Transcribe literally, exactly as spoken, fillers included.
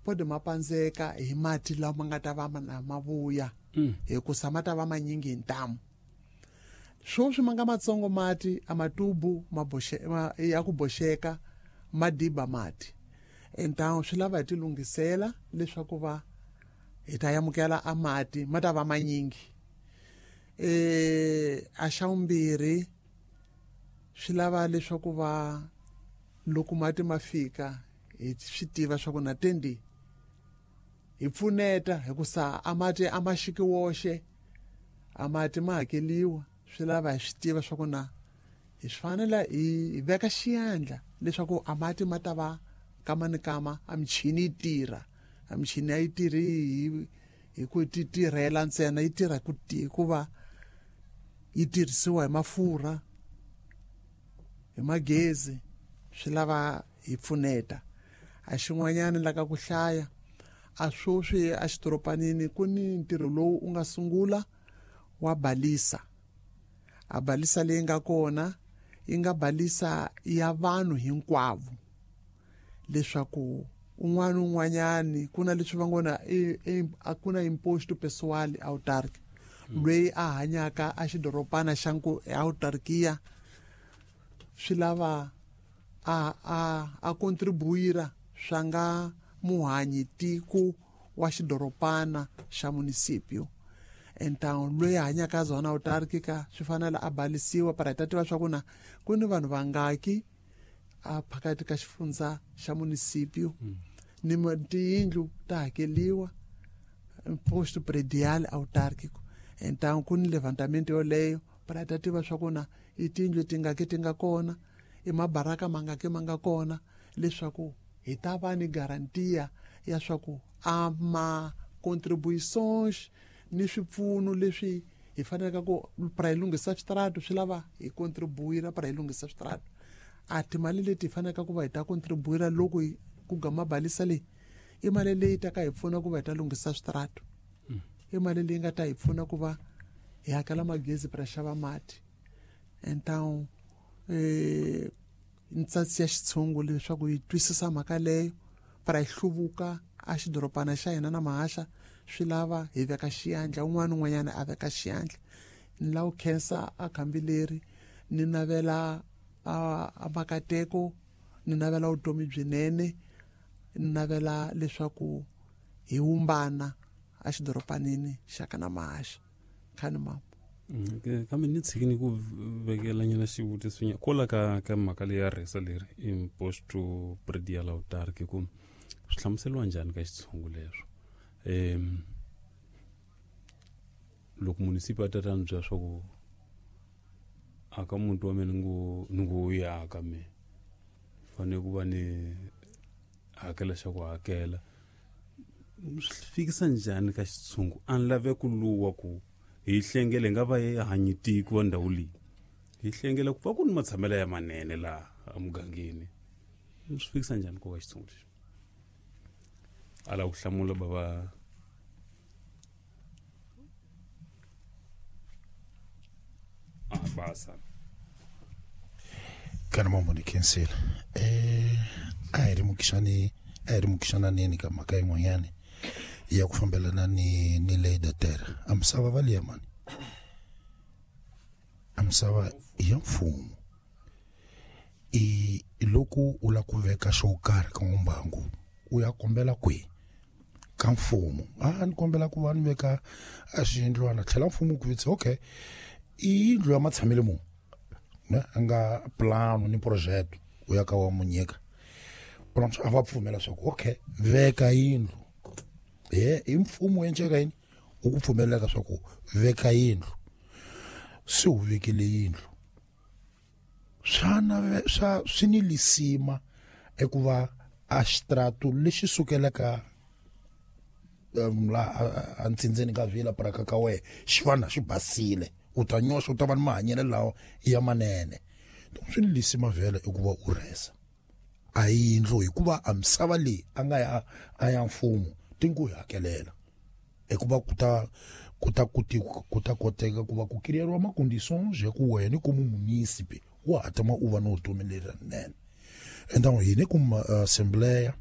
pode ma pandzeka hi mati lawa ma nga ta va ma ma vuya hikusa ma ta va manyingi hi ntamu. Swoswi ma nga matsongo mati a matubu ma boxe ma ya ku boxeka ma diba mati. Então swi lava hi ti lunghisela leswaku va hi ta amukela a mati ma ta va manyingi. Eh a xa vumbirhi swi lava leswaku va loko mati ma fika hi swi tiva swa ku na tendi hi pfuneta hikusa a mati a ma xiki woxe, a mati ma hakeliwa. Swi lava hi swi tiva swa ku na hi swi fanele hi veka xiyandla leswaku a mati ma ta va kama ni kama, a michini yi tirha. A michini a yi tirhi hi hi ku ti tirhela ntsena, yi tirha ku hikuva yi tirhisiwa hi mafurha, hi magezi. Swi lava hi pfuneta. A xin'wanyana la ka ku hlaya a swoswi a xidoropanini ku ni ntirho lowu u nga sungula wa balisa. A balisa leyi nga kona yi nga balisa ya vanhu hinkwavo, leswaku un'wana un'wanyani ku na leswi va ngo na a ku na imposto pessoal autarky, loyi a hanyaka a xidorobana xa nku autarkia swi lava a a a contribuira swa nga muhanyi tiko wa xidorobana xa municipio. Então loyi a hanyaka zona autarkica swi fanele a balisiwa para hi ta tiva swa ku na ku ni vanhu vangaki a phakati ka xifundza xa municipio, ni tiyindlu ta hakeliwa imposto predial autárquico. Então ku ni levantamento yoleyo para hi ta tiva swa ku na i tiyindlu tingaki ti nga kona, i mabaraka mangaki ma nga kona, leswaku hi ta va ni garantia ya swa ku a ma contribuições ni swipfuno leswi hi faneleke ku para hi lunghisa switarata swi lava hi contribuira para hi lunghisa switarata. A timali leti hi faneleke ku va hi ta contribuira loko ku gama balisa leyi i mali leyi ta ka hi pfuna ku va hi ta lunghisa switarata, i mali leyi nga ta hi pfuna ku va hi hakela magezi para xava mati. Então eh ntsatsi ya xitshungu leswaku hi twisisa mhaka leyo para hi hluvuka a xidorobana xa hina na mahaxa swi lava hi veka xiyandla, un'wana un'wanyana a veka xiyandla. Ni lava ku khensa a khambi leri, ni navela a a makateko, ni navela vutomi byinene, ni navela leswaku hi wumbana a xidorobanini xa ka na mahaxa. Khani mama. Kambe ni tshiki ni ku vekela nyana xivutiso nyana kwala ka ka mhaka leyi ya rhesa leri imposto predial autarky, ku swi hlamuseriwa njhani ka xitshungu leswo? Um loko munisipi a ta ta ni byela swa ku aka muti wa mina ni ngo ni ngo wu aka me fanele ku va ni hakela xa ku hakela, swi fikisa njhani ka xitshungu? A ni lave ku luwa ku hi hlengele hi nga va hi hanyi tiko wa ndhawu leyi, hi hlengela ku va ku ni matshamelo ya manene laha emugangeni. Swi fikisa njhani ku ka xitshungu lexi? A lava ku hlamula bava a basa kana mambo ni khensile. Eh a hi ri mukixani a hi ri mukixananeni ka mhaka yin'wanyani ya ku fambelana ni ni lei da terra. A misava va liya mani, a misava ya mfumo. I loko u lava ku veka xo karhi ka mbangu u ya kombela kwihi? Ka mfumo. A ni kombela ku va ni veka a xiyindlwana, tlhela mfumo ku vitsa okay i yindlu ya matshamelo mo ne a nga plano ni project u ya ka wa munyika a va pfumela swa ku okay veka yindlu. He i mfumo endleka yini u ku pfumelelaka swa ku veka yindlu, se u vekile yindlu swa na swa swi ni lisima eku va a xitrato lexi sukelaka la a ntsindzeni ka vila paraka ka wehe xi va na xi basile, u ta nyoxa u ta va ni mahanyelo lawa ya manene. Swi ni lisima vhele i ku va u rhesa a yindlu hikuva a misava leyi a nga ya a ya mfumo ti ngo yi hakelela hikuva ku ta ku ta kuti ku ta koteka ku va ku kiriyeriwa ma-conditions ya ku wena ku mumunisipi wa ha tama u va ni vutomi lerinene. Enta hina ku assembleya